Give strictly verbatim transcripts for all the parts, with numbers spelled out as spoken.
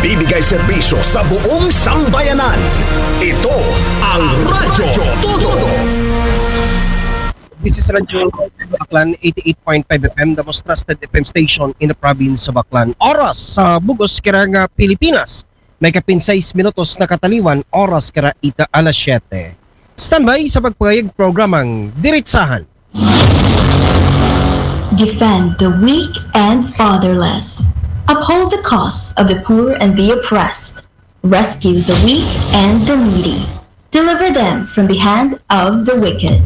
Bibigay serbisyo sa buong sambayanan. Ito ang Radyo Todo. This is Radyo Aklan, eighty-eight point five F M, the most trusted F M station in the province of Aklan. Oras sa bug-os kira nga Pilipinas. May kapin sais minutos na kataliwan, oras kira ita alas siyete. Standby sa pagpangayag programang Diritsahan. Defend the weak and fatherless. Uphold the cause of the poor and the oppressed. Rescue the weak and the needy. Deliver them from the hand of the wicked.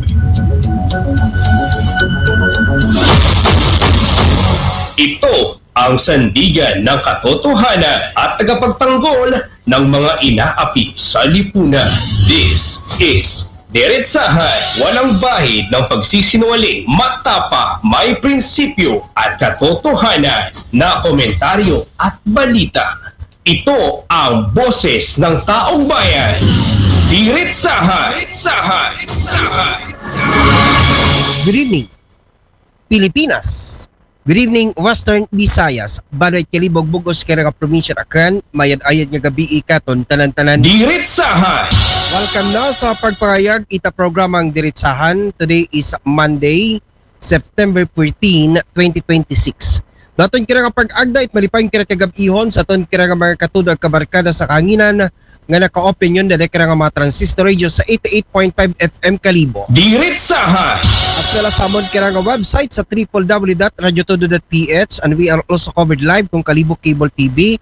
Ito ang sandigan ng katotohanan at tagapagtanggol ng mga inaapi sa lipunan. This is Diretsahan, walang bahid ng pagsisinungaling, matapa, may prinsipyo at katotohanan na komentaryo at balita. Ito ang boses ng taong bayan. Diretsahan, Diretsahan, Diretsahan. Good evening, Pilipinas. Good evening, Western Visayas. Banwa it Kalibo ug bug-os kira nga probinsya Aklan, mayad-ayad nga gabii katon tanan-tanan. Diretsahan. Welcome na sa pagpangayag ita programang Diretsahan. Today is Monday, September fourteen, twenty twenty-six. Daton kira nga pag-agda it malipayong kira kagab-ihon sa aton kira nga mga katudo ug kabarkada sa kahanginan nga naka-open yun dali kira nga mga transistor radio sa eighty-eight point five F M Kalibo. Diretsahan. As well as sa amon kira nga website sa triple W dot radyo todo dot P H, and we are also covered live kung Kalibo Cable T V,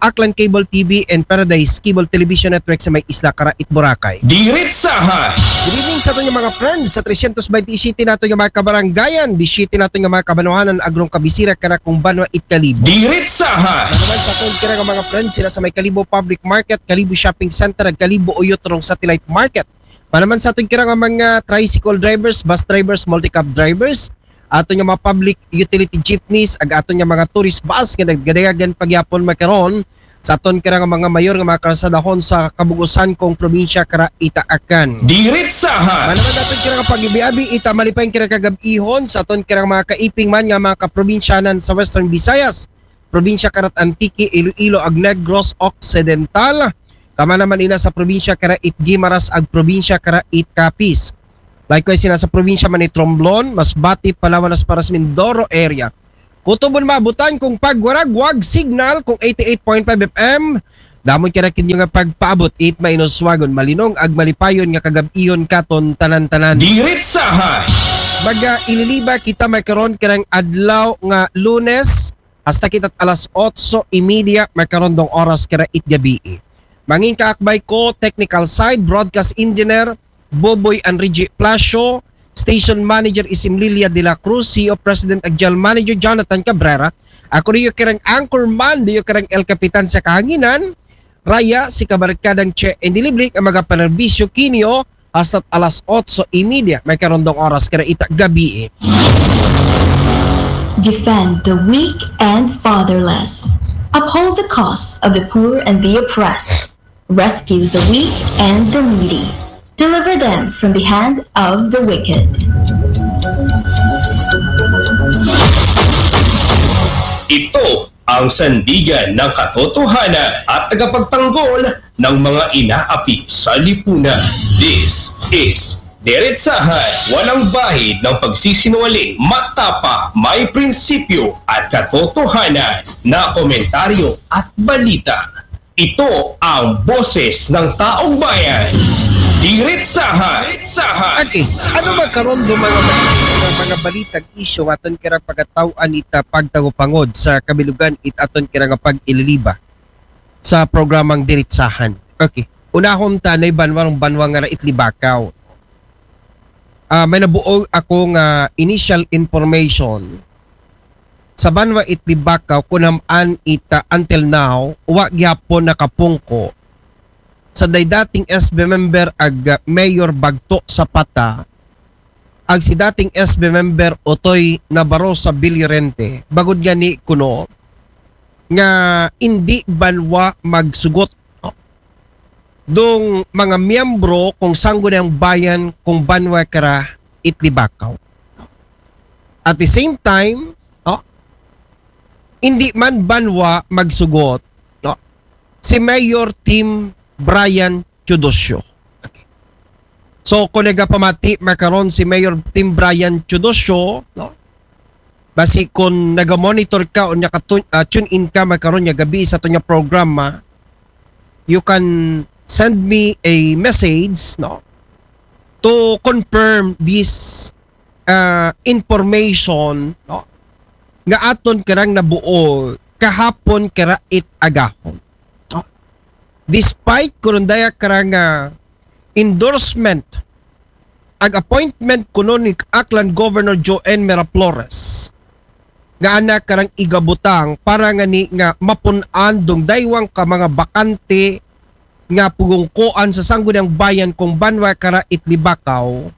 Aklan Cable T V, and Paradise Cable Television Network sa may isla kara it Boracay. Diretsahan. Good evening sa aton nga mga friends sa trescientos veintisiete nato nga mga kabarangayan, disiete nato nga mga kabanwahanan, agrong kabisira kara kung banwa it Kalibo. Diretsahan. Naman sa aton kira nga mga friends sila sa may Kalibo Public Market, Kalibo Shopping Center, ug Kalibo Uyotrong Satellite Market. Manaman sa aton kira nga mga tricycle drivers, bus drivers, multicab drivers, aton nga mga public utility jeepneys, ag aton nga mga tourist bus nga nagdadayagan pagyapon makaron sa aton kira nga mga mayor nga mga kalsadahon sa kabug-usan kung probinsya kara ita Aklan. Diretsahan. Manaman aton kira nga pag-abi-abi ita malipayong kira kagab-ihon sa aton kira nga mga kaiping man nga mga kaprobinsyanan sa Western Visayas, probinsya kara it Antique, Iloilo, ug Negros Occidental. Kama naman ina sa probinsya kara it Guimaras ug probinsya kara it Capiz. Likewise, ina sa probinsya man it Romblon, Masbate, Palawan, Las Piñas, Mindoro area. Kutob on maabutan kung pagwaragwag signal kung eighty-eight point five F M. Damo kira kinyo nga pagpaabot it mainoswagon, malinong ug malipayon nga kagab-ihon katon tanan-tanan. Diretsahan. Mag-ililiba kita makaron karang adlaw nga Lunes, hasta kita alas otso y media makaron dong oras kara it gabii. Mangin kaakbay ko, technical side, broadcast engineer, Boboy and Reggie Plasio, station manager Isim Lilia de la Cruz, C E O President ug General Manager Jonathan Cabrera. Ako diyo karang anchorman, diyo karang El Capitan sa kahanginan, Raya, si kabarkadang Che and Dilibrick ang magapanerbisyo kinyo hasta alas otso y media makaron dong oras kara ita gabii. Defend the weak and fatherless. Uphold the cause of the poor and the oppressed. Rescue the weak and the needy. Deliver them from the hand of the wicked. Ito ang sandigan ng katotohanan at tagapagtanggol ng mga inaapi sa lipunan. This is Diretsahan, walang bahid ng pagsisinungaling, matapa, may prinsipyo at katotohanan na komentaryo at balita. Ito ang boses ng taong bayan. Diretsahan. Diretsahan. Okay, ano ba karon do mga balita, mga, mga balitang isyu nga aton kira pagataw-an ita pagtagupangod sa kabilugan it aton kira nga pag-ililiba sa programang Diretsahan? Okay. Unahon ta na banwa, banwa nga ra it Libacao. Ah, may nabuo ako nga initial information sa banwa it Libacao, kunam-an ita until now, wa gyapon nakapungko sa day dating S B member ag, ah, Mayor Bagto Zapata, ag si dating S B member Otoy Navarro sa Villorente. Bagod nga ni kuno nga indi banwa magsugot dong mga miyembro kung Sangguniang Bayan kung banwa kara it Libacao. At the same time, no, hindi man banwa magsugot, no, si Mayor Tim Brian Teodosio. Okay. So, kung nagapamati makaron si Mayor Tim Brian Teodosio, no? Basi kung naga-monitor ka o naka-tune uh, tune in ka makaron nga gabi sa aton nga programa, you can send me a message, no? To confirm this uh, information, no? Nga aton karang nabuo kahapon kara it agahon. No? Despite kurundaya karang uh, endorsement, ag appointment kuno ni Aklan Governor Joan Miraflores, nga ana karang igabutang para nga ni nga mapun-an dong daywang ka mga bakante nga pugungkuan sa Sangguniang Bayan kung banwa kara Itlibakaw.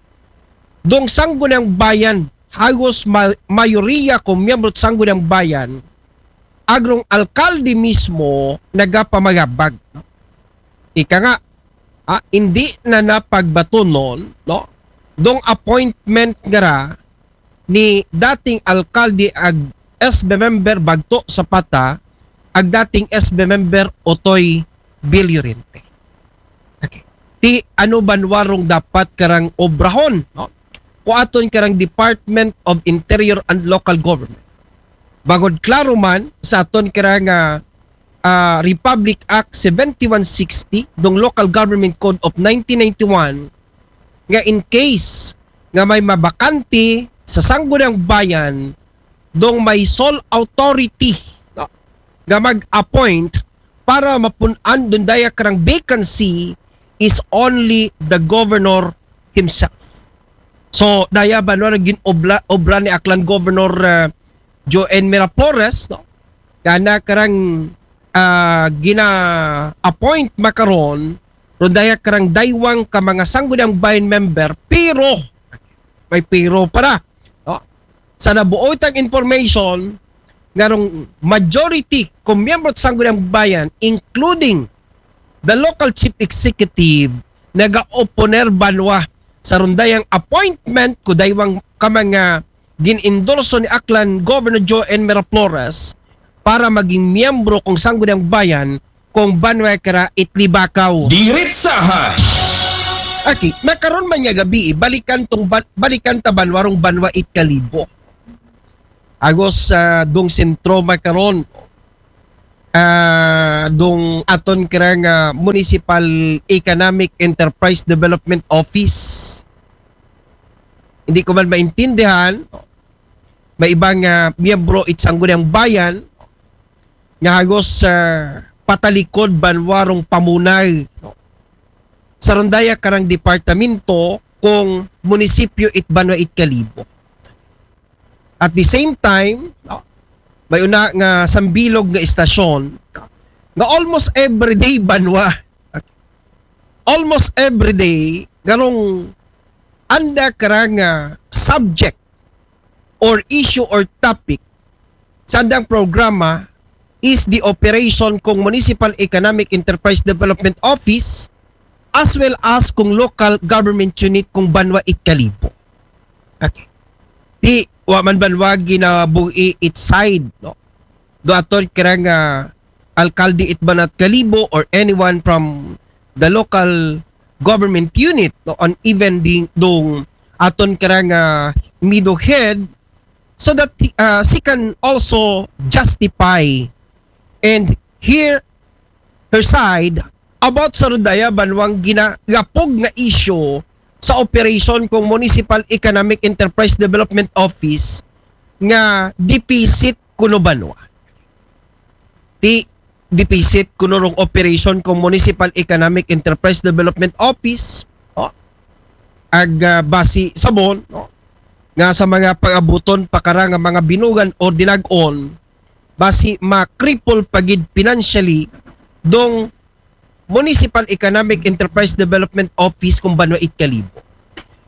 Dong Sangguniang Bayan, hagos ma- mayoriya kung miyembro sa Sangguniang Bayan, agrong alkalde mismo nagapamagabag. Ika nga, ah, hindi na napagbatunon, no? Dong appointment nga ra ni dating alkalde ag S B member Bagto Zapata, ag dating S B member Otoy Bill Llorente. Okay. Ti ano banwa rong dapat karang obrahon, no? Kuaton karang Department of Interior and Local Government. Bangod klaro man sa aton karang uh, uh, Republic Act seventy-one sixty, dong Local Government Code of nineteen ninety-one, nga in case nga may mabakante sa Sangguniang Bayan, dong may sole authority, no, nga mag-appoint para mapun-an dong daya karang vacancy is only the governor himself. So, daya banwa gin-obra obra ni Aklan Governor uh, Joan Miraflores, no? Kana karang uh, gina-appoint makaron, ron daya karang daywang ka mga Sangguniang Bayan member, pero, may pero para, no? Sa nabuo itang information, nga rong majority kung miyembro sa Sangguniang Bayan, including the local chief executive, naga-oponer banwa sa rundayang appointment ko daywang ka mga gin-endorso ni Aklan Governor Joan Miraflores para maging miyembro kung Sangguniang Bayan kung banwa kara Itlibakaw. Diritsahan! Aki, makaron man nga gabi, balikan tong ban- balikan ta banwa rong banwa Itkalibo. Agos sa uh, dong sentro makaron, uh, dong aton kara nga Municipal Economic Enterprise Development Office. Hindi ko man maintindihan, may ibang uh, miyembro it Sangguniang Bayan nga hagos uh, patalikod banwa rong pamunay, no? Sa rundaya karang departamento kung munisipyo it banwa Itkalibo. At the same time, no, may una nga sambilog nga istasyon nga almost everyday banwa. Almost everyday, garong anda karang uh, subject or issue or topic sa andang programa is the operation kung Municipal Economic Enterprise Development Office as well as kung local government unit kung banwa Itkalibo. Okay. Di wa man banwa ginabuhi it side, no? Do aton karang uh, alkalde it banwa Itkalibo or anyone from the local government unit, no? On even the dong aton karang uh, middle head so that uh, she can also justify and hear her side about sa rundaya banwang ginagapog nga issue sa operation kung Municipal Economic Enterprise Development Office nga deficit kuno banwa. Ti deficit kuno rong operation kung Municipal Economic Enterprise Development Office, oh, ag uh, basi sabon, no? Nga sa mga pag-abuton pakara nga mga binugan o dinag-on, basi ma-cripple pagid financially dong Municipal Economic Enterprise Development Office kung banwa Itkalibo.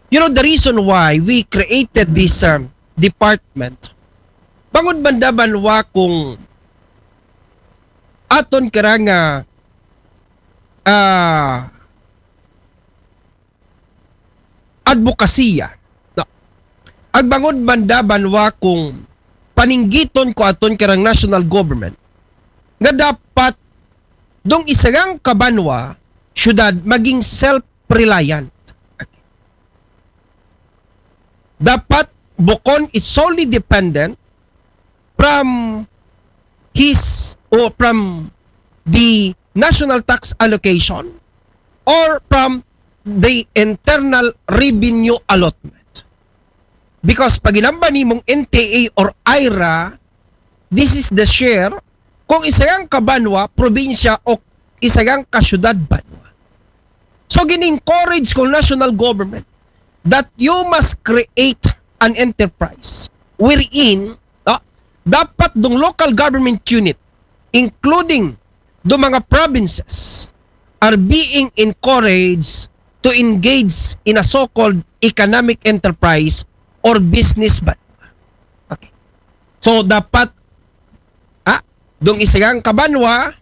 You know, the reason why we created this um, department, bangod banda banwa kung aton karang uh, uh, advokasya. No? Agbangod banda banwa kung paninggiton ko aton karang national government nga dapat dong isarang ka banwa, syudad, maging self-reliant. Dapat bukon it solely dependent from his or from the national tax allocation or from the internal revenue allotment. Because pag inamban nimong N T A or IRA, this is the share kung isarang ka banwa, probinsya o isarang ka syudad banwa. So gin-encourage kong national government that you must create an enterprise wherein, no, dapat dong local government unit, including do mga provinces, are being encouraged to engage in a so-called economic enterprise or business banwa. Okay. So dapat, ah, dong isarang ka banwa,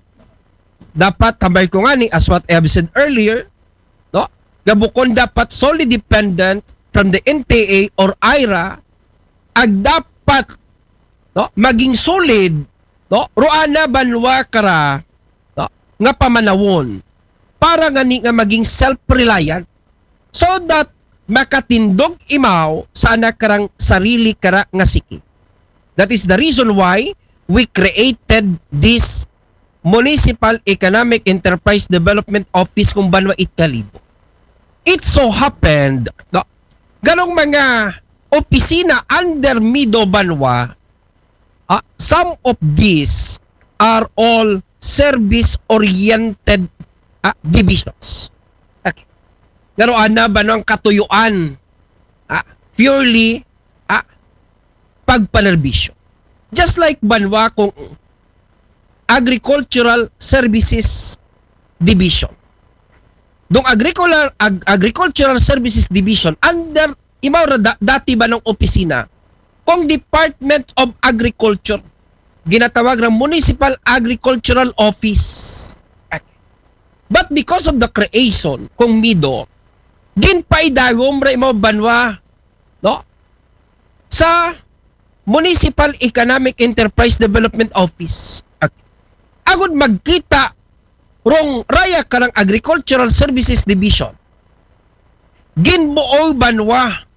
dapat, tambay ko ngani, as what I have said earlier, no, nga bukon dapat solely dependent from the N T A or IRA, ag dapat, no, maging solid, no, ro ana banwa kara, no, nga pamanawon para ngani nga maging self-reliant, so that makatindog imaw sa ana karang sarili kara nga siki. That is the reason why we created this Municipal Economic Enterprise Development Office kung banwa it Kalibo. It so happened, no, ganong mga opisina under MIDO banwa, ah, some of these are all service-oriented, ah, divisions. Okay. Pero ana ba no ang katuyuan, ah, purely, ah, pagpanerbisyo? Just like banwa kung Agricultural Services Division. Dong agricultural, ag- Agricultural Services Division, under, imaw ra da- dati ba ng opisina? Kung Department of Agriculture, ginatawag ng Municipal Agricultural Office. But because of the creation, kung MIDO, ginpaidagom ra imaw banwa, no? Sa Municipal Economic Enterprise Development Office. Agud magkita rong raya karang Agricultural Services Division. Ginbuoy banwa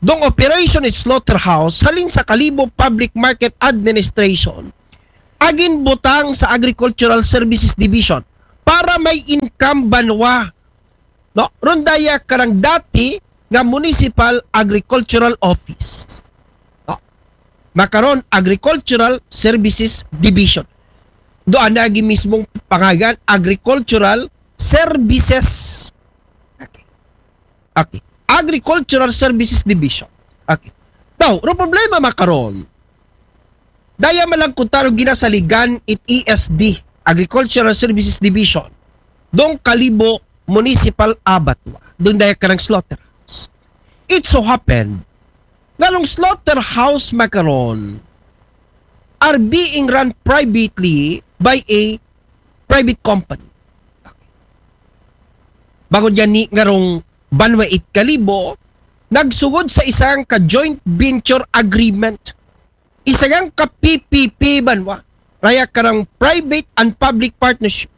dong operation it slaughterhouse halin sa Kalibo Public Market Administration. Agin butang sa Agricultural Services Division para may income banwa, no? Rondaya karang dati nga Municipal Agricultural Office. No? Makaron, Agricultural Services Division. Do ana gi mismong pangagan, Agricultural Services. Okay. Okay. Agricultural Services Division. Okay. Now, ro problema makaron, daya malagkutan o ginasaligan it E S D, Agricultural Services Division, dong Kalibo Municipal Abattoir, dong daya karang slaughterhouse. It so happened, ngalong slaughterhouse makaron are being run privately by a private company. Bangod yan ni ngarong banwa it Kalibo, nagsugod sa isang ka joint venture agreement, isang ka P P P banwa, raya karang private and public partnership.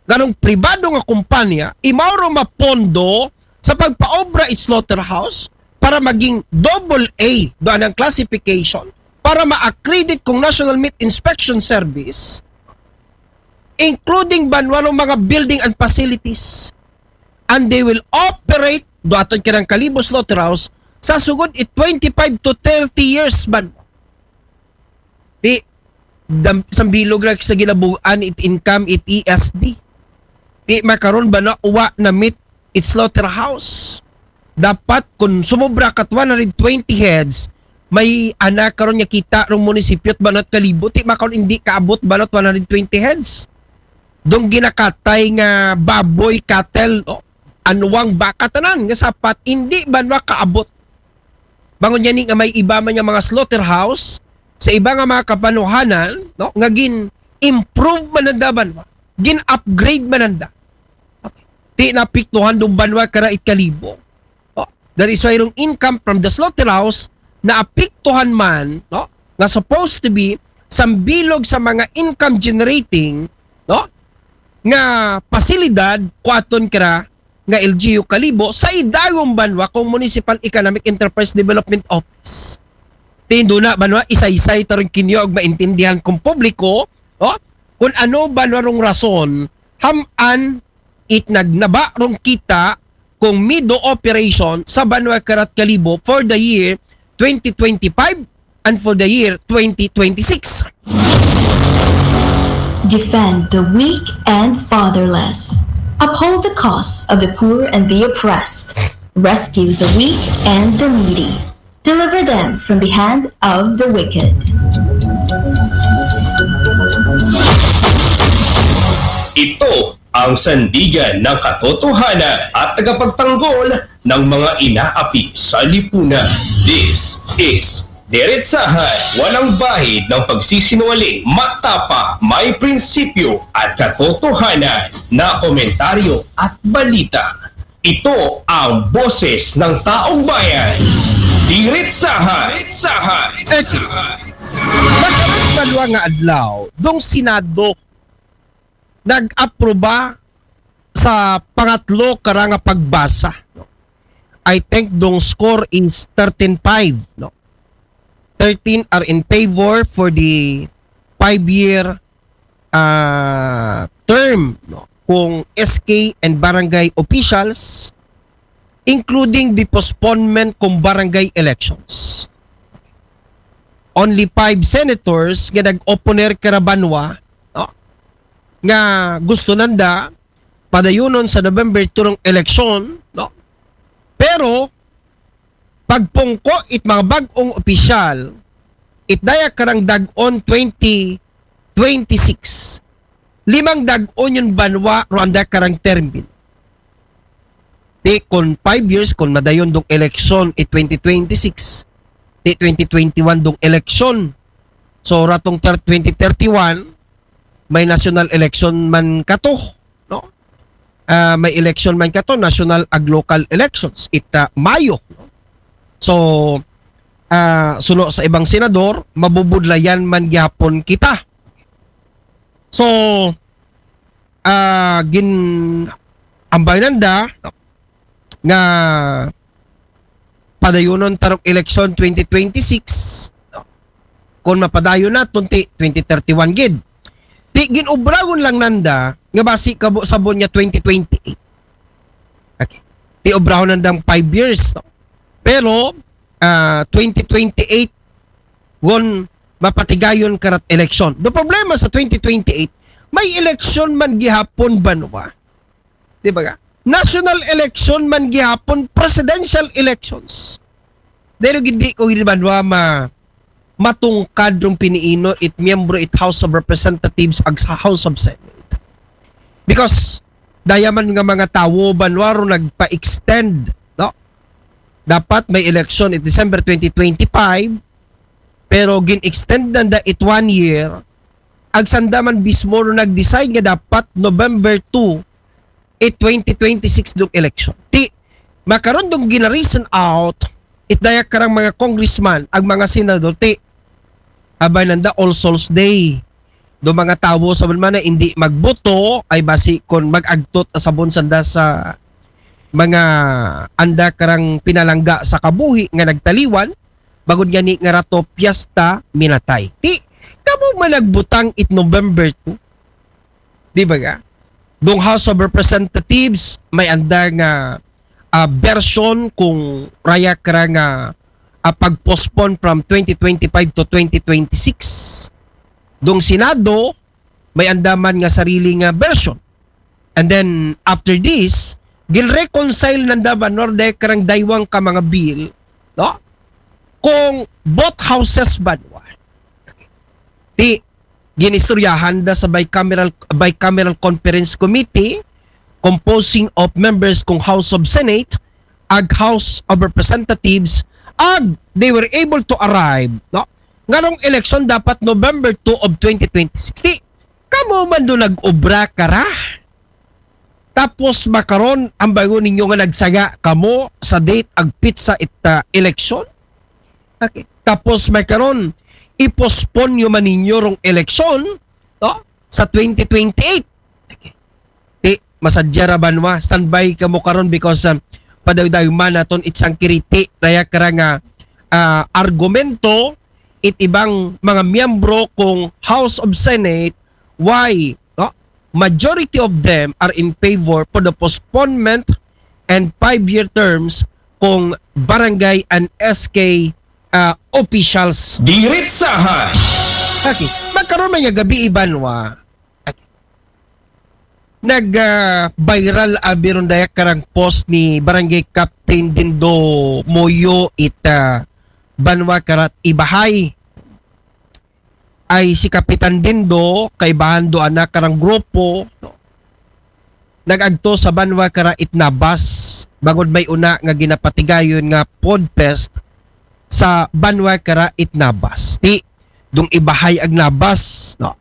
Ganong pribado nga kumpanya, imaw ro mapondo sa pagpaobra it slaughterhouse para maging double A do anang classification para ma-accredit kong National Meat Inspection Service, including banwa ng mga building and facilities. And they will operate do aton karang Kalibo Slaughterhouse sa sugod it twenty-five to thirty years banwa. Di, dam, sambilog ra sa ginabuan it income it E S D. Di makaron banwa wa na meat it slaughterhouse. Dapat kung sumobra kat one hundred twenty heads, may ana karon nga kita rong munisipyo it banwa it Kalibo, ti makaron hindi kaabot banwa it one hundred twenty heads. Dong ginakatay nga baboy, cattle, no? Anuang baka tanan nga sapat, hindi banwa kaabot. Bangod yan ni nga may iba man nga mga slaughterhouse sa iba nga mga kapanuhanan, no? Nga gin-improve man nanda banwa, gin-upgrade man nanda. Okay. Ti napiktuhan dong banwa kara it Kalibo. No? That is why rong income from the slaughterhouse naapiktuhan man, no? Nga supposed to be sambilog sa mga income generating, no? nga pasilidad kuaton kira nga L G U Kalibo sa idagom banwa kung Municipal Economic Enterprise Development Office. Ti duna banwa isaysay ta run kinyo ug maintindihan kung publiko, no? Kung ano banwa rong rason ham-an it nagnaba rong kita kung MIDO operation sa banwa kira Kalibo for the year twenty twenty-five and for the year twenty twenty-six. Defend the weak and fatherless. Uphold the cause of the poor and the oppressed. Rescue the weak and the needy. Deliver them from the hand of the wicked. Ito ang sandigan ng katotohanan at tagapagtanggol ng mga inaapi sa lipunan. This is Diretsahan, walang bahid ng pagsisinungaling, matapang, may prinsipyo at katotohanan na komentaryo at balita. Ito ang boses ng taong bayan. Diretsahan! Diretsahan! Nagkaroon banwa nga adlaw, dong Senado nag-aproba sa pangatlo kara nga pagbasa. I think dong score is thirteen five, no? Thirteen are in favor for the five-year uh, term, no? Kung S K and barangay officials, including the postponement kung barangay elections. Only five senators nga nag-opponer kara banwa, no? Nga gusto nanda padayunon sa November two rong eleksyon, no? Pero pagpungko it mga bag-ong opisyal, it daya karang dag-on twenty twenty-six, limang dag-on yung banwa ro anda karang termin. Ti kon five years, kon madayon dong eleksyon it twenty twenty-six, ti twenty twenty-one dong eleksyon. So ratong ter- twenty thirty-one, may national election man kato, no? Ah, may election man kato, national ag local elections it ah, Mayo, no? So ah, suno sa ibang senador, mabubudlayan man gyapon kita. So ah, gin ambay nanda, no? Nga padayunon ta rong eleksyon twenty twenty-six, no? Kung mapadayon naton ti twenty thirty-one gid. Ti gin-obragon lang nanda nga basi kabo sabon nga twenty twenty-eight. Okay. Ti obrahon nandang five years, no? Pero ah, twenty twenty-eight gon mapatigayon karat eleksyon. Do problema sa twenty twenty-eight, may eleksyon man gihapon banwa. Di ba ka? National election man gihapon, presidential elections. Dahil hindi ko gid banwa ma matungkad rong piniino it miyembro it House of Representatives ag sa House of Senate. Because daya man nga mga tawo banwa ro nagpa-extend, no? Dapat may election it December twenty twenty-five, pero gin-extend nanda it one year, ag sanda man bismo ro nag-decide nga dapat November two it twenty twenty-six dong election. Ti makaron dong gina-reason out it daya karang mga congressman ag mga senador ti abay nanda All Souls Day. Do mga tawo sa man na hindi magboto ay basi kon mag-agtot asabon sanda sa mga anda karang pinalangga sa kabuhi nga nagtaliwan, bagod nga ni nga rato piyesta minatay. Ti kamo man nagbutang it November two. Di ba ka? Dong House of Representatives may anda nga ah, version kung raya kara nga ah, pag-postpone from twenty twenty-five to twenty twenty-six. Dong Senado may andaman nga sarili nga version. And then after this, gin-reconcile nanda banwa ro daya karang daywang ka mga bill, no? Kung both houses banwa. Ti ginistoryahan da sa bicameral bicameral conference committee composing of members kung House of Senate ag House of Representatives, ag they were able to arrive, no, nga rong eleksyon dapat November two of twenty twenty-six. Ti kamo man do nag-obra kara. Tapos makaron ang bago ninyo nga nagsaga kamo sa date ag pitsa it ah, eleksyon. Okay. Tapos makaron i-postpone nyo man ninyo rong eleksyon, no? Sa twenty twenty-eight. Okay. masadya ra banwa. Standby kamo karon because, um, padaydayon man naton it sangkiriti, daya kara nga, ah, argumento it ibang mga miyembro kung House of Senate, why, no? Majority of them are in favor for the postponement and five-year terms kung barangay and S K, ah, officials. Diritsahan! Okay. Magkaroon man nga gabi, Ibanwa. Okay. Nag, ah, viral abi ron daya karang post ni Barangay Captain Dindo Moyo it, ah, banwa karat Ibahay. Ay si Kapitan Dindo, kaibahan do ana karang grupo, no? Nag-agto sa banwa kara Itnabas, bangod may una nga ginapatigayon nga Podfest sa banwa kara Itnabas. Ti, dung Ibahay ag Nabas, no?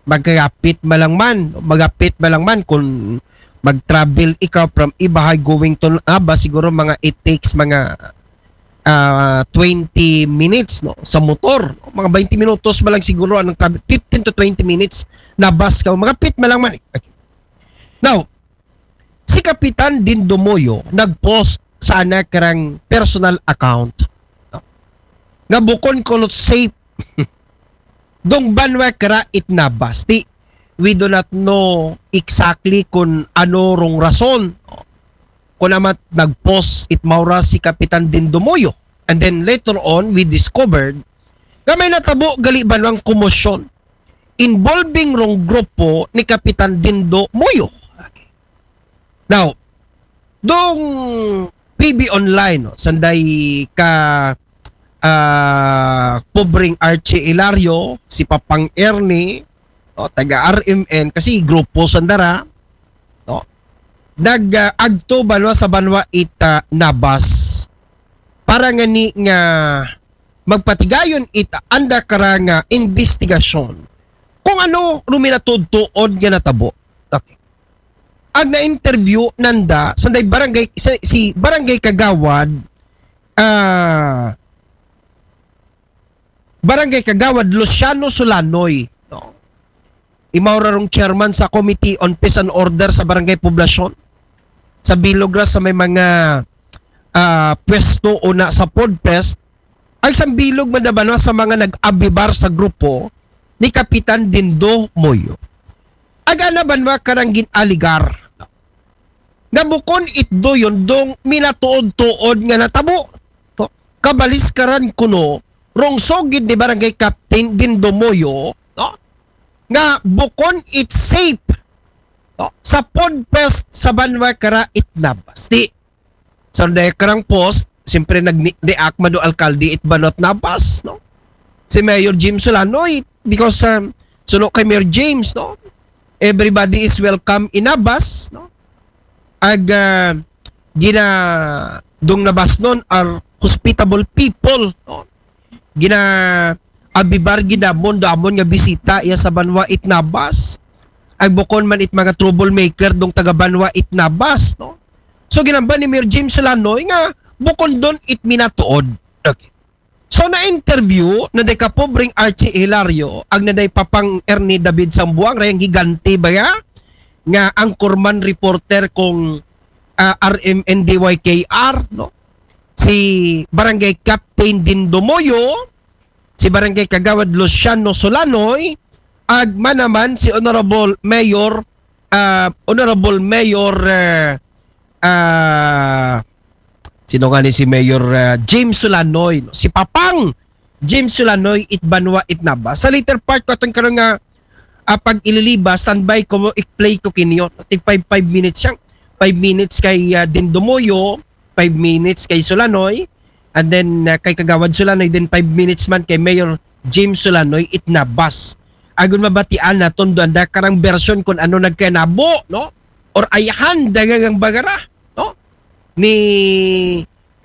Magkagapit malang man, magapit malang man kung mag-travel ikaw from Ibahay going to Nabas, siguro mga it takes mga, ah, twenty minutes, no, sa motor. Mga twenty minutos malang siguro ang travel, fifteen to twenty minutes Nabas ka, magapit malang man. Okay. Now, si Kapitan Dindo Moyo nag-post sa ana karang personal account, no? Nga bukon kuno safe dong banwa kara Itnabas. Ti, we do not know exactly kung ano rong rason kung amat nag-post it maura si Kapitan Dindo Moyo. And then later on, we discovered nga may natabo gali banwang komosyon involving rong grupo ni Kapitan Dindo Moyo. Okay. Now, dong P B Online, no, sanday ka, ah, pobreng Archie Hilario, si Papang Ernie, no, taga R M N, kasi grupo sandara, no? Nag, ah, agto banwa sa banwa it, ah, Nabas para nga ni nga magpatigayon it anda kara nga investigasyon kung ano ruminatudtuod nga natabo. Okay. Ag na-interview nanda sanday barangay, si, si Barangay Kagawad, ah, Barangay Kagawad Luciano Sulanoy, no? Imaw ra rong chairman sa Committee on Peace and Order sa Barangay Poblacion. Sa bilog ra sa may mga, ah, pwesto una sa Podfest, ay sambilog man naman sa mga nag-abibar sa grupo ni Kapitan Dindo Moyo. Aga na banwa karang gin-aligar nga bukon itdo yon dong minatuod-tuod nga natabo. No? Kabaliskaran kuno rong sugid ni Barangay Captain Dindo Moyo, no? Nga bukon it safe, no? Sa Podfest sa banwa kara Itnabas. Ti, sa daya karang post, siyempre nag-react man do alkalde it banwa Itnabas, no? Si Mayor James Sulanoy, because, um, suno kay Mayor James, no? Everybody is welcome in Nabas, no? Ag, ah, gina dong Nabasnon are hospitable people, no? Gina abibar gid amon do amon nga bisita iya sa banwa Itnabas. Ag bukon man it mga troublemaker dong taga banwa Itnabas, no? So ginamba ni Mayor James Sulanoy nga bukon don it minatuod. Okay. So na-interview na di ka pobreng Archie Hilario, ag na di Papang Ernie David Sambuang, rayang higante ba ya? Nga anchorman reporter kung, ah, R M N D Y K R, no? Si Barangay Captain Dindo Moyo, si Barangay Kagawad Luciano Solanoy, ag manaman si Honorable Mayor, ah, Honorable Mayor, eh, ah, sino nga ni si Mayor, ah, James Sulanoy, no? Si Papang James Sulanoy, it banwa Itnabas. Sa later part ko atong karon nga, ah, pag-ililiba, standby ko mo, i-play ko kinyo. Tig five, five minutes siyang, five minutes kay, ah, Dindo Moyo, five minutes kay Sulanoy, and then, ah, kay Kagawad Sulanoy, then five minutes man kay Mayor James Sulanoy, Itnabas. Agon mabatian naton do anda karang version kung ano nagkanabo, no? Or ayhan, dagang bagara, no? Ni,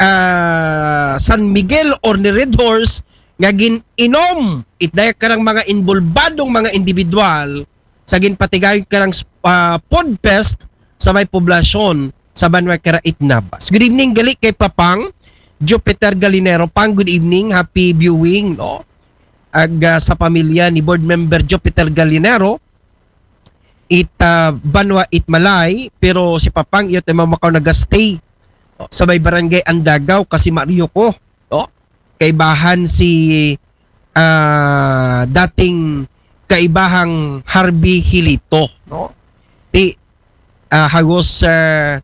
ah, San Miguel or ni Red Horse nga gin-inom it daya karang mga involbadong mga individual sa ginpatigayon karang, ah, Podfest sa may poblasyon sa banwa kara Itnabas. Good evening gali kay Papang Jupiter Galinero. Pang, good evening, happy viewing, no? Ag, ah, sa pamilya ni Board Member Jupiter Galinero, it ah, banwa it Malay, pero si Papang iyot ay makaw nagastay sa may barangay Andagaw, kasi Mario ko, no? Kaibahan si ah, dating kaibahang Harvey Hilito, no? Ti ah, hagos ah,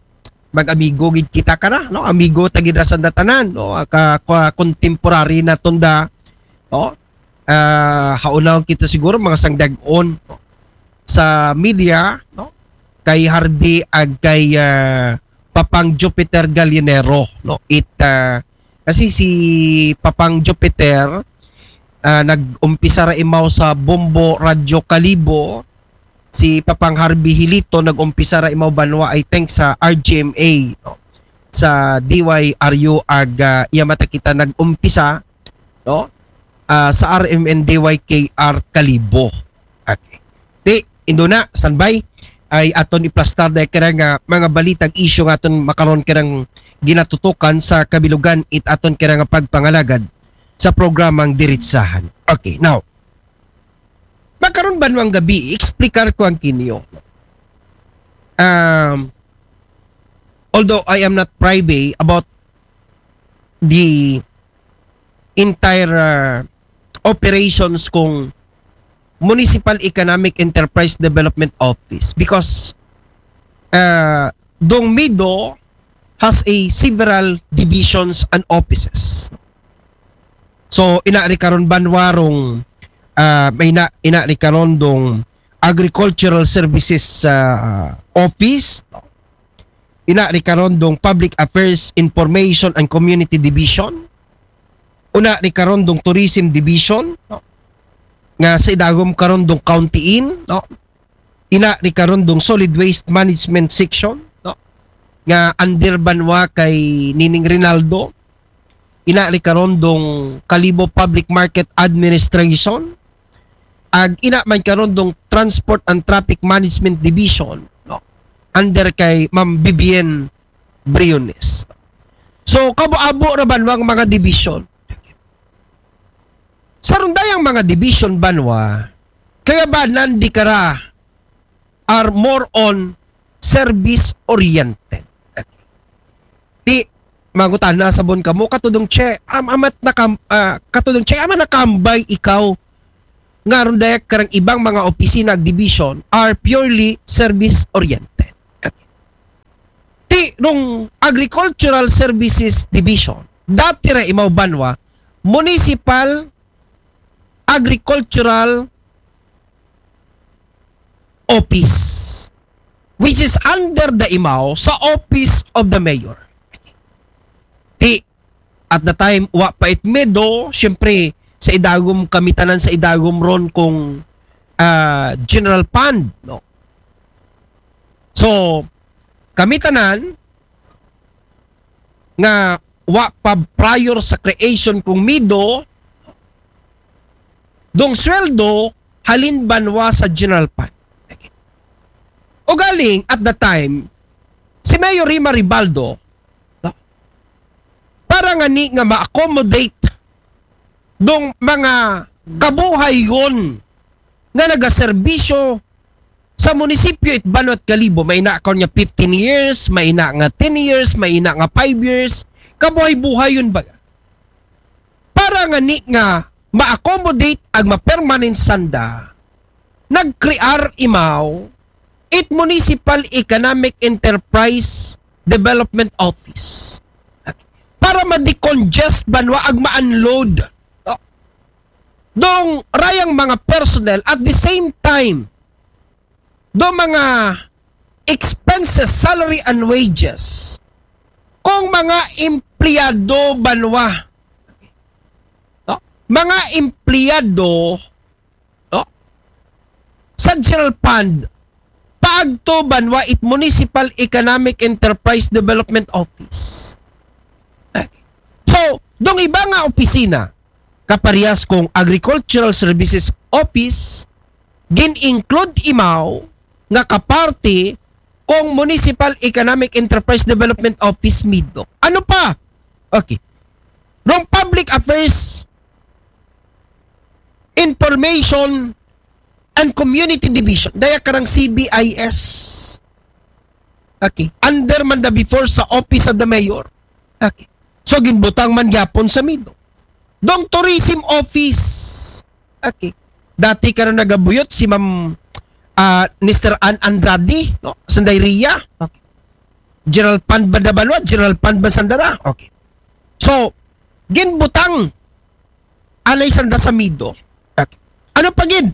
mag-amigo gid kita kana, no? Amigo ta gid ra sanda tanan, no? Ka, ka contemporary na tunda, no? Ah, haunaw kita siguro mga sangdag-on, no? Sa media, no? Kay Harvey ag kay ah, Papang Jupiter Gallinero, no? It ah, kasi si Papang Jupiter ah, nag-umpisa ra imaw sa Bombo Radyo Kalibo, si Papang Harvey Hilito nag-umpisa ra imaw banwa, I think, sa R G M A, no? Sa D Y R U ag ah, iya mata kita nag-umpisa, no? Ah, sa R M N D Y K R Kalibo. Okay. Ti, induna, standby, ay aton iplastar da kira nga mga balitag isyu nga aton makaron kirang ginatutukan sa kabilugan it aton kira nga pagpangalagad sa programang Diritsahan. Okay, now, makaron banwang gabi, explicar ko ang kinyo. Um, although I am not privy about the entire uh, operations kung Municipal Economic Enterprise Development Office, because uh, dong MIDO has a several divisions and offices. So, ina ri karon banwa rong, ah, may ina, ina ri karon dong Agricultural Services ah, Office, ina ri karon dong Public Affairs, Information and Community Division, una ri karon dong Tourism Division, no? Nga sa idagom karon dong County Inn, no? Ina ri karon dong Solid Waste Management Section, no? Nga under banwa kay Nining Rinaldo. Ina ri karon dong Kalibo Public Market Administration. Ag ina man karon dong Transport and Traffic Management Division, no? Under kay Ma'am Vivian Briones. So, kabo-abo ra banwang mga division. Sa rundayang mga division banwa, kaya ba nandi kara are more on service oriented? Ti, mangutana sabon kamo, katudong che, am, amat nakam, ah, katudong che, amat nakambay ikaw nga rundaya karang ibang mga opisina ag division are purely service oriented. Ti, rong Agricultural Services Division, dati ra imaw banwa, Municipal Agricultural Office, which is under the imaw sa Office of the Mayor. Ti, at the time, wa pa it MIDO, syempre, sa idagom kami tanan sa idagom ron kung ah, general fund, no? So, kami tanan nga wa pa prior sa creation kung MIDO, dong sweldo halin banwa sa general fund. Ugaling, at the time, si Mayor Rima Ribaldo, no? Para nga ni nga ma-accommodate dong mga kabuhayon nga nagaserbisyo sa munisipyo it banwat Kalibo, may ina karon nga fifteen years, may ina nga ten years, may ina nga five years, kabuhay-buhayon ba? Para nga ni nga ma-accommodate ag ma-permanent sanda, nag-crear imaw it Municipal Economic Enterprise Development Office para ma-decongest banwa ag ma-unload, no? Dong rayang mga personnel, at the same time, do mga expenses, salary and wages, kung mga empleyado banwa, no? Mga empleyado, no? Sa general fund, paagto banwa it Municipal Economic Enterprise Development Office. So, dong iba nga opisina, kaparehas kung Agricultural Services Office, gin-include imaw nga kaparte kung Municipal Economic Enterprise Development Office, MIDO. Ano pa? Okay. Rong Public Affairs, Information and Community Division. Daya karang C B I S. Okay. Under man da before sa Office of the Mayor. Okay. So, ginbutang man gyapon sa MIDO. Dong Tourism Office. Okay. Dati karon nagabuyot si Ma'am, ah, Mister Ann Andrade, no? Sanday Ria. Okay. General Fund ba da banwa? General Fund ba sanda ra? Okay. So, ginbutang anay sanda sa MIDO. Okay. Ano pa gid?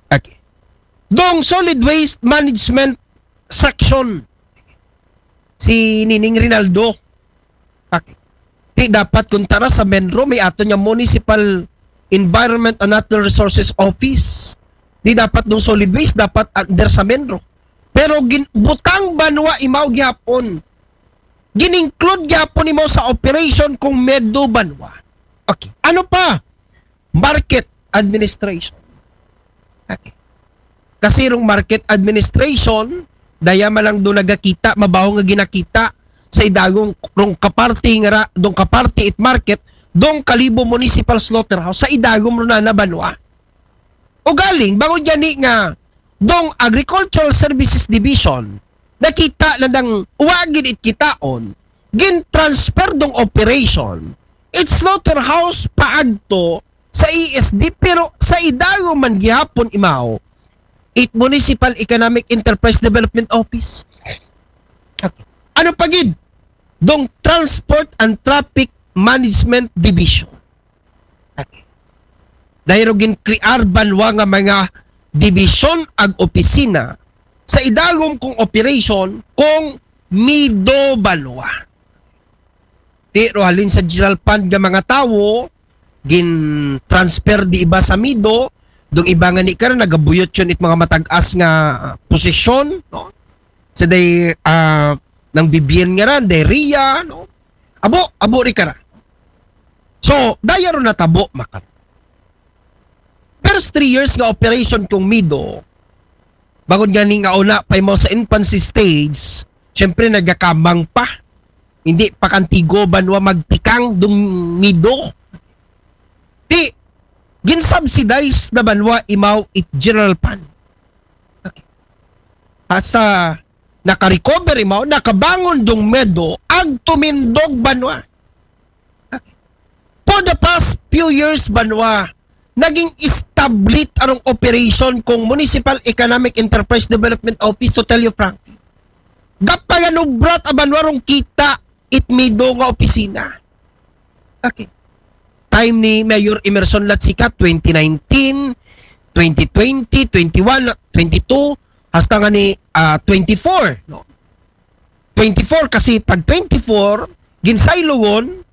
Okay. Dong Solid Waste Management Section, si Nining Rinaldo. Okay. Ti dapat kuntara sa MENRO, may ato niya Municipal Environment and Natural Resources Office. Di dapat dong solid waste, dapat under sa MENRO. Pero gin, butang banwa imaw gyapon. Gin-include gyapon imaw sa operation kung MIDO banwa. Okay. Ano pa? Market administration. Okay. Kasi rong market administration, daya man lang do nagakita, mabaho nga ginakita sa idagom rong kaparti nga ra, dong kaparti it market, dong Kalibo Municipal Slaughterhouse, sa idagom ron na banwa. Ugaling, bangod gani nga, dong Agricultural Services Division, nakita na dang wa gid it kitaon, gin-transfer dong operation, it slaughterhouse paagto sa E S D, pero sa idagom man gihapon imaw, it Municipal Economic Enterprise Development Office. Okay. Ano pa gid? Dong Transport and Traffic Management Division. Okay. Dahil gin-crear banwa nga mga division ag opisina sa idagom kong operation kung MIDO banwa. Ti ro halin sa general fund nga mga tawo, gin-transfer di iba sa MIDO, dong iba nga ni karon nagabuyot yon it mga matag-as nga, ah, posisyon, no? Sa day, ah, nang Bibian nga ran, day Ria, no? Abo, abo ri kara. So, daya ro natabo, makar. First three years nga operation kong MIDO, bangod gani nga una pa imaw sa infancy stage, syempre nagakamang pa. Hindi pa kantigo banwa magtikang dong MIDO. Ti, gin-subsidize na banwa imaw it general fund. Okay. Asa naka-recover imaw, nakabangon dong MIDO, ag tumindog banwa. Okay. For the past few years, banwa, naging established arong operation kong Municipal Economic Enterprise Development Office, to tell you frankly. Gapaganubrat a banwa rong kita it MIDO nga opisina. Okay. Time ni Mayor Emerson Latsica, twenty nineteen, twenty twenty, twenty-one, twenty-two, hasta nga ni, ah, twenty-four, no? Twenty-four kasi pag twenty-four, ginsaylogon,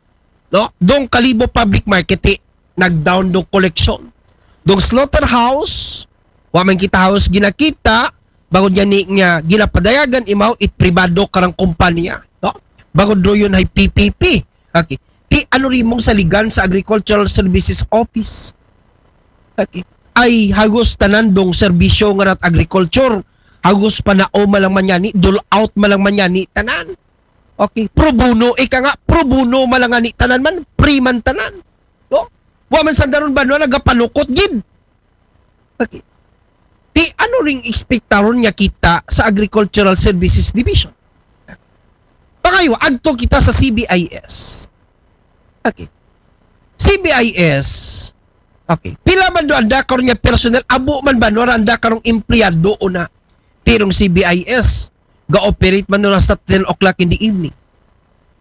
no? Dong Kalibo Public Market, eh, nag-down dong collection. Dong slaughterhouse, wa man kita halos ginakita, bangod gani nga ginapadayagan imaw it pribado karang kumpanya, no? Bangod ro yon hay P P P. Okay. Ti ano rimong saligan sa Agricultural Services Office? Okay. Ay hagos tanan dong serbisyo nga rat agriculture, hagos panao malang manyani, dole out malang manyani tanan. Okay, pro bono, ika nga, pro bono malang ani tanan man, free man tanan. No? Wa man sandaron banwa nagapanukot gid. Okay. Ti ano ring ekspektaron nga kita sa Agricultural Services Division? Pangayo, agto kita sa C B I S. Okay. C B I S. Okay. Pila man do anda karon nga personnel, abo man banwa ra anda karong empleyado una. Ti rong C B I S, ga-operate man do hasta ten o'clock in the evening.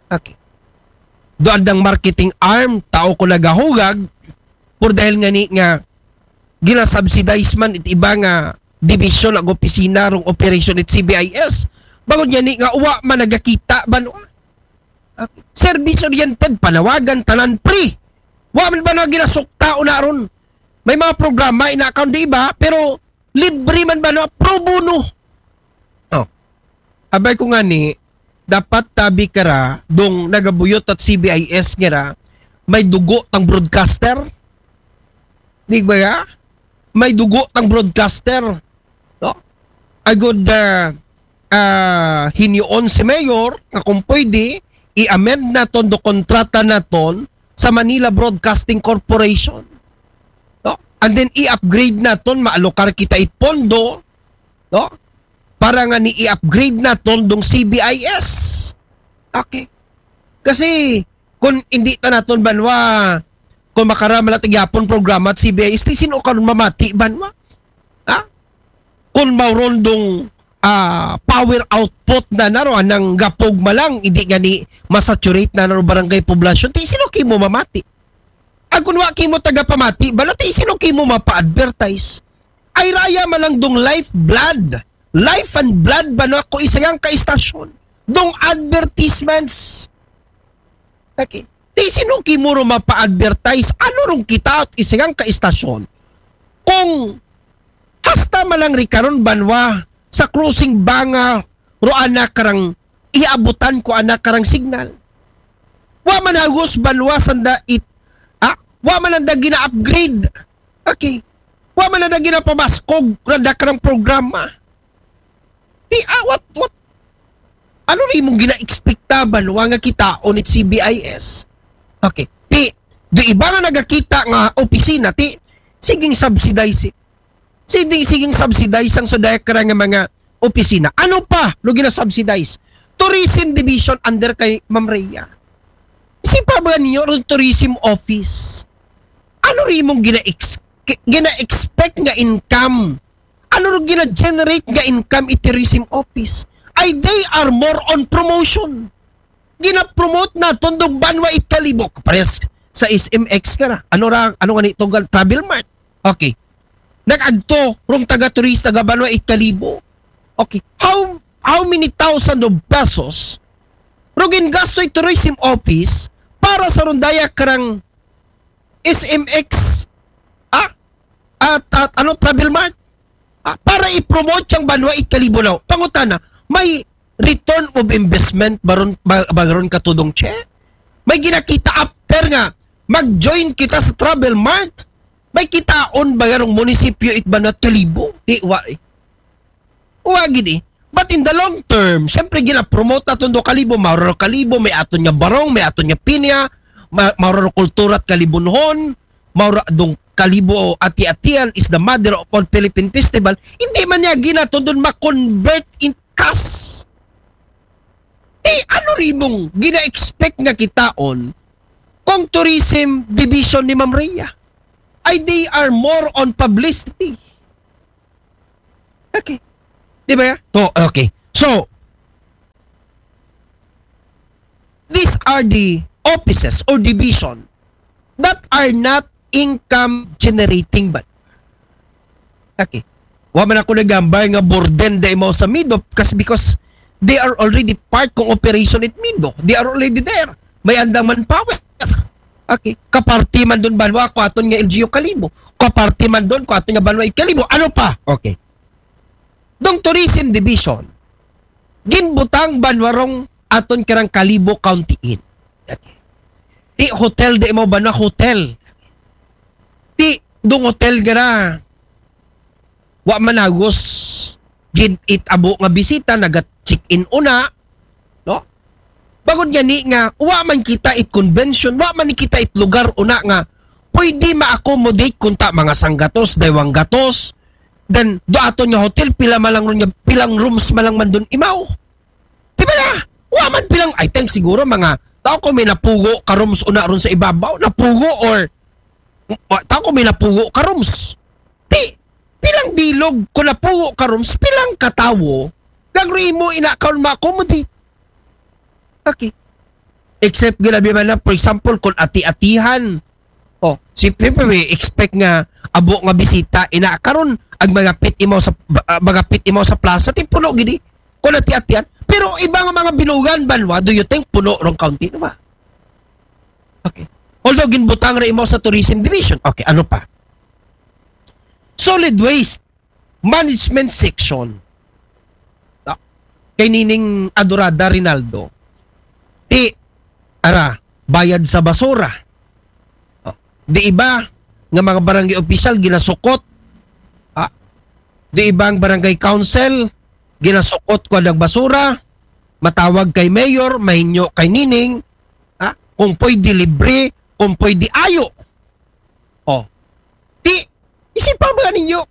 Okay. Do andang marketing arm, tao ko nagahugag, por dahil nga ni nga ginasubsidize man it iba nga division ag opisina rong operation it C B I S. Bangod gani nga wa man nagakita banwa. Okay. Service oriented, panawagan, tanan free. Wa man banwa ginasukta una ron. May mga programa ina account di iba, pero libre man banwa, pro bono. Oh. Abay ko nga ni, dapat tabi kara dong nagabuyot at C B I S nga ra, may dugo tang broadcaster. Di ba ya? May dugo tang broadcaster. No? Agod, ah, ah, hinyoon si Mayor nga kung pwede, i-amend naton do kontrata naton sa Manila Broadcasting Corporation. No? And then i-upgrade naton, maalokar kita it pondo, no? Para nga ni i-upgrade naton dong C B I S. Okay. Kasi kung hindi ta naton banwa, kung makaramalat gyapon programa at C B I S, ti sino karon mamati banwa? Ha? Kung mauron dong ah, power output na naro anang gapog malang, hindi nga ni masaturate na naro barangay poblasyon, ti sino kimo mamati? Ang kung wa kimo taga pamati, bala ti sino kimo mapa-advertise? Ay raya malang dong lifeblood, life and blood ba na ko isang ka istasyon? Dong advertisements. Okay. Ti sino kimo ro mapa-advertise? Ano rong kita at isang ka istasyon? Kung hasta malang rikaron banwa sa crossing banga ro anak karang iabutan ko anak karang signal. Wa man hagos banwa sanda it, ah, wa man anda gina-upgrade. Okay. Wa man anda ginapamaskog randa karang programa. Ti, ah, what, what? Ano ri mong gina-expecta banwa nga kitaon it C B I S? Okay. Ti, do iba nga nagakita nga opisina, ti, siging subsidize it. Siging, siging subsidize ang sudaya karang nga mga opisina. Ano pa? Lo gina-subsidize? Tourism Division under kay Ma'am Rhea. Sipa ba niyo ron tourism office? Ano ri mong gina-ex-, gina-expect nga income? Ano ro gina-generate nga income it tourism office? Ay, they are more on promotion. Gina-promote naton dong banwa it Kalibo. Pares sa S M X ka na. Ano ra, ano nga ni tugal? Travel Mart. Okay. Nag-agto rong taga-turista ga banwa it Kalibo. Okay. How, how many thousand of pesos ro gingasto it tourism office para sa rondaya karang S M X, ah? At, at ano, Travel Mart? Ah, para i-promote yang banwa it Kalibo. Pangutana, may return of investment baron, ba, baron katudong che? May ginakita after nga mag-join kita sa Travel Mart? May kitaon ba garong munisipyo it banwa Kalibo? Di, wa, eh. Wa gid eh. But in the long term, syempre gina-promote naton do Kalibo, mauro Kalibo, may aton nga barong, may aton nga pinya, ma-, mauro kultura at Kalibunhon, mauro dong Kalibo, ati-atian is the mother of all Philippine festival. Hindi man niya ginaton doon ma-convert in cash. Eh, ano rin mong gina-expect nga kitaon kung tourism division ni Ma'am Rhea? Ay, they are more on publicity. Okay. Di ba? To, okay. So, these are the offices or division that are not income generating ba? Okay. Wa man ako nagambay nga burden da imaw sa Mido kasi because they are already part kong operation it Mido. They are already there. May andang manpower. Okay. Kaparti man doon banwa ko aton nga L G U Kalibo. Kaparti man doon ko aton nga banwa it Kalibo. Ano pa? Okay. Dong Tourism Division, ginbutang banwa rong aton karang Kalibo County Inn. Okay. Ti hotel di mo banwa hotel. Ti dong hotel gara wa managos gid it abo nga bisita, naga-check-in una, no? Bangod nga ni nga, wa man kita it convention, wa man kita it lugar una nga pwede ma-accommodate kunta mga sanggatos, daywang gatos, then do aton nga hotel, pila man lang ron nga, pilang rooms man lang man dun imaw. Di ba na? Wa man pilang, I think siguro mga, tao ko may napugo ka rooms una ron sa ibabaw, napugo or, wa-, tao ko may napugo ka rooms. Ti, pilang bilog, kung napugo ka rooms, pilang katawo, gagro imo ina karon ma-accommodate. Okay. Except ginabi man na, for example, kung ati-atihan, oh, si Pepe, we expect nga abo nga bisita, ina karon ang mga pit imaw sa, ah, mga pit imaw sa plaza, ti puno gini. Kung ati-atihan. Pero iba nga mga binugan, banwa, do you think puno rong county, di ba? Okay. Although ginbutang ra imaw sa tourism division. Okay, ano pa? Solid waste management section. Ah, kay nining Adorada Rinaldo. Ti, ara, bayad sa basura. Oh, di iba nga mga barangay official ginasukot. Ah, di iba ang barangay council ginasukot ko ang basura. Matawag kay mayor, mahinyo kay nining. Ha? Kung pwede libre, kung pwede ayo. Oh. Ti, Chipa ba ninyo?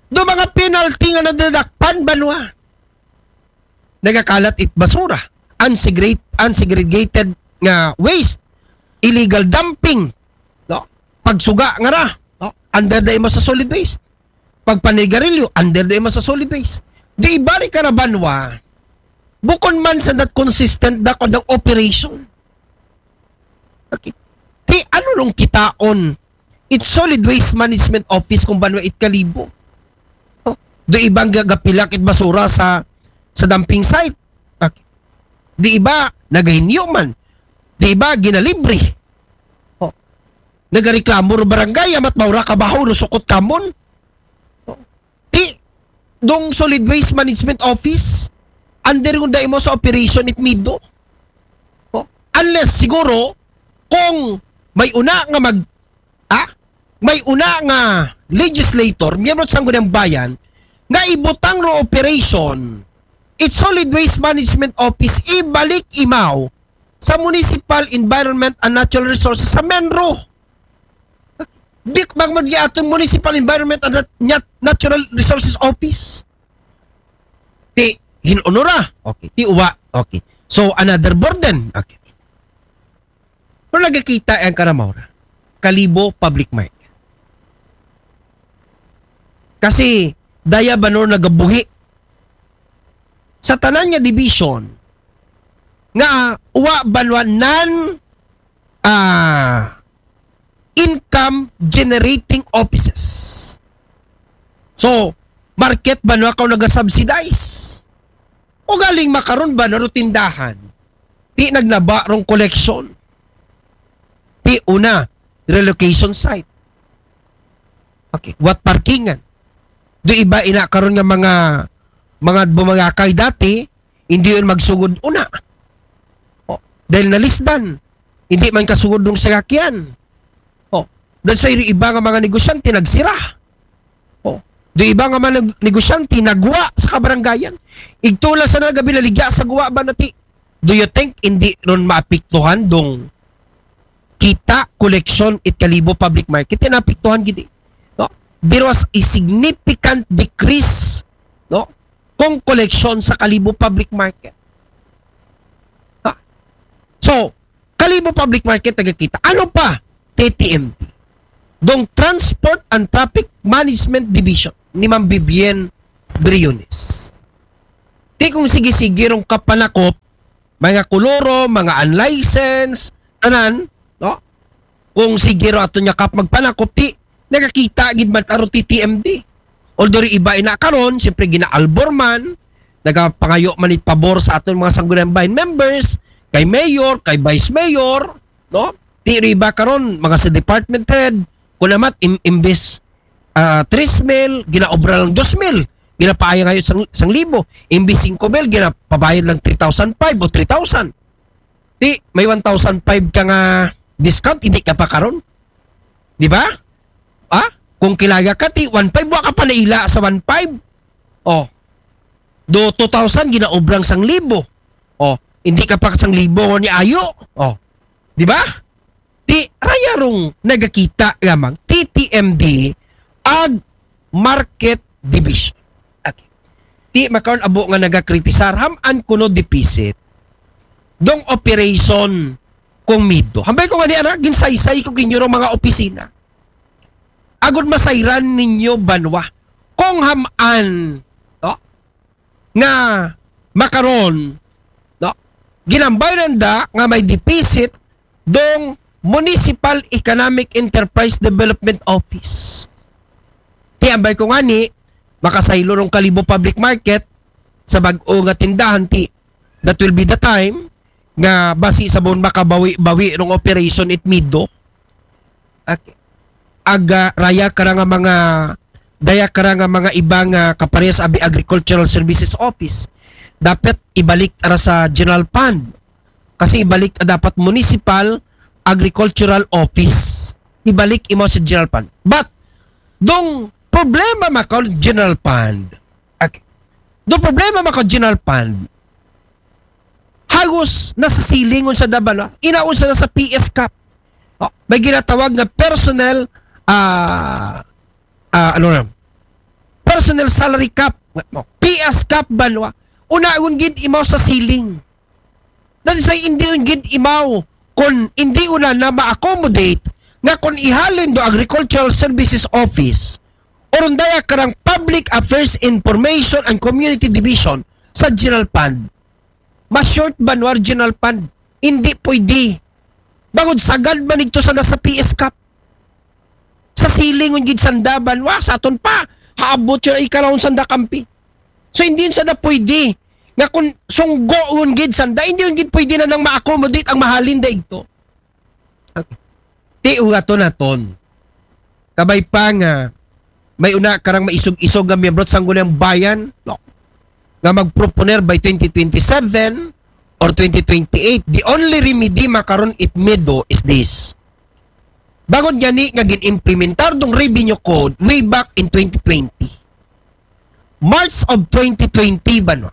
Do mga penalty nga nadadakpan banwa. Nagakalat it basura, unsegre-, unsegregated nga waste, illegal dumping, no? Pagsuga nga ra, no? Under da imo sa solid waste. Pagpanigarilyo, under da imo sa solid waste. Di iba ri ka ra banwa, bukon man sa not consistent da kung operation. Okay. Ti ano rong kitaon it Solid Waste Management Office kung banwa it Kalibo? Oh, do ibang gagapilak it basura sa sa dumping site. Okay. Di iba nagahinyo man. Di iba ginalibre. Oh. Nagareklamo ro barangay, amat maura kabaho ro sukot kamon. Oh. Ti dong Solid Waste Management Office, under kung da imo sa operation it MIDO. Oh. Unless siguro kung may una nga mag ah, may una nga legislator, miyembro sa Sangguniang Bayan, nga ibutang ro operation it Solid Waste Management Office, ibalik imaw sa Municipal Environment and Natural Resources sa MENRO. Bik bang man atong Municipal Environment and Nat-, Nat-, Natural Resources Office. Ti hinunora. Okay. Ti uwa. Okay. So, another burden. Okay. Pero nagakita ang karamaw ra. Kalibo Public Market. Kasi daya banwa nagabuhi sa tanan nga division nga uwa banwa non, ah, income generating offices. So, market banwa kaw nagasubsidize. O galing makaron banwa ro tindahan. Ti nagnaba rong collection. Ti una, relocation site. Okay, what parkingan? Do iba ina karon nga mga, mga bumangakay dati, hindi yun magsugod una. Oh, dahil nalisdan, hindi man kasugod ng sakyan. Oh, that's why iba nga mga negosyante nagsira. Oh, do iba nga mga neg-, negosyante nagwa sa kabarangayan. Igtula sa nagabi naligya sa guwa ba nati? Do you think hindi ron maapektuhan dong kita koleksyon it Kalibo Public Market? Ti naapektuhan gid. No? There was a significant decrease, no? Kung koleksyon sa Kalibo Public Market. Ha? So, Kalibo Public Market nagakita. Ano pa? T T M D. Dong Transport and Traffic Management Division ni Ma'am Vivienne Briones. Ti kung sige-sige rong kapanakop, mga kuluro, mga unlicensed, tanan, no? Kung sige ro ato niya kap magpanakop, ti nakakita gid man taro T T M D. Although ri iba ina karon, siyempre ginaalbor man, nagapangayo man it pabor sa aton mga Sangguniang Bayan members, kay mayor, kay vice mayor, no? Ti ri iba karon, mga sa department head, kung amat, im-, imbis, ah, tres mil, ginaobra lang dos mil, ginapaaya ngayon sang, sang libo, imbis singko mil, ginapabayad lang three thousand five o three thousand. Ti, may one thousand five ka nga discount, hindi ka pa karon. Di ba? Ah? Kung kilaya ka, ti, one five, wa ka pa naila sa one five. Oh. Do two thousand, ginaobrang sang libo. Oh. Hindi ka pa sang libo ni ayo. Oh. Di ba? Ti, raya rong nagakita lamang, T T M D, ag Market Division. Okay. Ti, makaon abo nga nagakritisar, ham-an kuno deficit dong operation kung MIDO. Hambay ko nga di, ana, ginsaysay ko kinyo rong mga opisina. Agud masayran ninyo banwa. Kung ham-an, no? Nga makaron, no? Ginambay nanda nga may deficit dong Municipal Economic Enterprise Development Office. Ti ambay ko ngani, makasaylo rong Kalibo Public Market sa bag-o nga tindahan, ti that will be the time nga basi sa bon makabawi-bawi rong operation it MIDO. Okay. Ag, ah, raya ka ra nga mga, daya ka ra nga mga iba nga kaparehas abi Agricultural Services Office. Dapat ibalik ra sa general fund. Kasi ibalik dapat Municipal Agricultural Office. Ibalik imo sa general fund. But, dong problema makaw general fund. Okay. Dong problema makaw general fund. Halos nasa ceiling unsa da ba, no? Inaunsa na sa P S cap. Oh, may ginatawag nga personnel, ah, ah, ano na, personal salary cap, no? P S cap banwa. Unaon gid imaw sa ceiling. That is why hindi un gid imaw kung hindi una na ma-accommodate nga kung ihalin do Agricultural Services Office or undaya karang Public Affairs, Information and Community Division sa General Fund. Ma-short banwa General Fund. Hindi pwede. Bangod sagad man ito sa nasa P S cap. Sa ceiling un gid sanda banwa, sa aton pa, haabot yun ay karaon sanda kampi. So, hindi yun sanda pwede. Nga kung sunggo un gid sanda, hindi yun gid pwede na nang ma-accommodate ang mahalin da igto. Okay. Ti ugaton naton. Kabay pa nga, may una karang maisog-isog nga miyembro sa Sangguniang Bayan, no? Nga magproponer by twenty twenty-seven or twenty twenty-eight. The only remedy makaron it medo is this. Bangod gani nga gin-implementar dong revenue code way back in twenty twenty. March of twenty twenty banwa.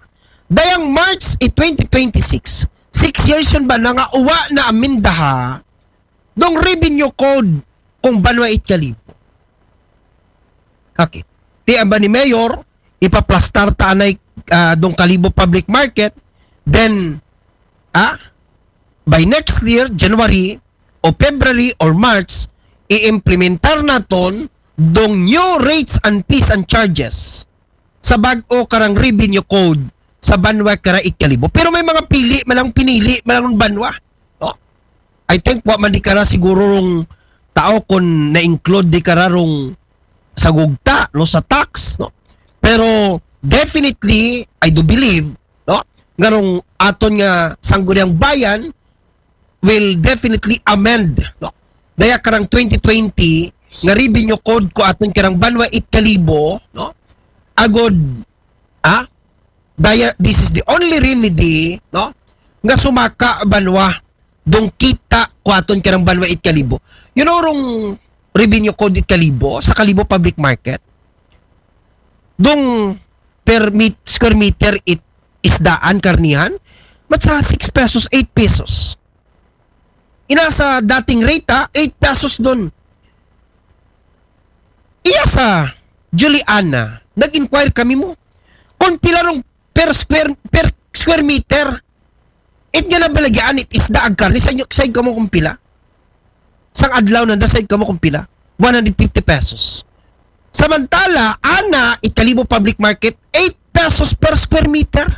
Dayang March in twenty twenty-six, six years yun banwa nga uwa na amindaha dong revenue code kung banwa it Kalibo. Okay. Ti amba ni Mayor, ipaplastar ta anay ah, dong Kalibo Public Market, then, ah, by next year, January o February or March, i-implementar naton dong new rates and fees and charges sa bag-o karang revenue code sa banwa kara it Kalibo. Pero may mga pili man lang, pinili man lang banwa. No? I think wa man di kara siguro rong tao kung na-include di kara rong sa gugta, no, sa tax, no. Pero definitely, I do believe, no, nga rong aton nga Sangguniang Bayan will definitely amend, no. Daya karang twenty twenty nga revenue code ko aton karang banwa it Kalibo, no. Agod, ah, daya, this is the only remedy, no, nga sumaka banwa dong kita ko aton karang banwa it Kalibo. You know, rong revenue code it Kalibo, sa Kalibo Public Market, dong per meet, square meter it isdaan karnihan, mat sa six pesos, eight pesos. Ina sa dating rate, ah, eight pesos don. Iya sa Juliana, nag-inquire kami mo kung pila rong per square, per square meter. It nga nabalagyaan it isda ag karne, sa inyo, sa kamo kung pila? Sang adlaw nanda, sa kamo kung pila? One hundred fifty pesos. Samantala, ana, it Kalibo Public Market, eight pesos per square meter.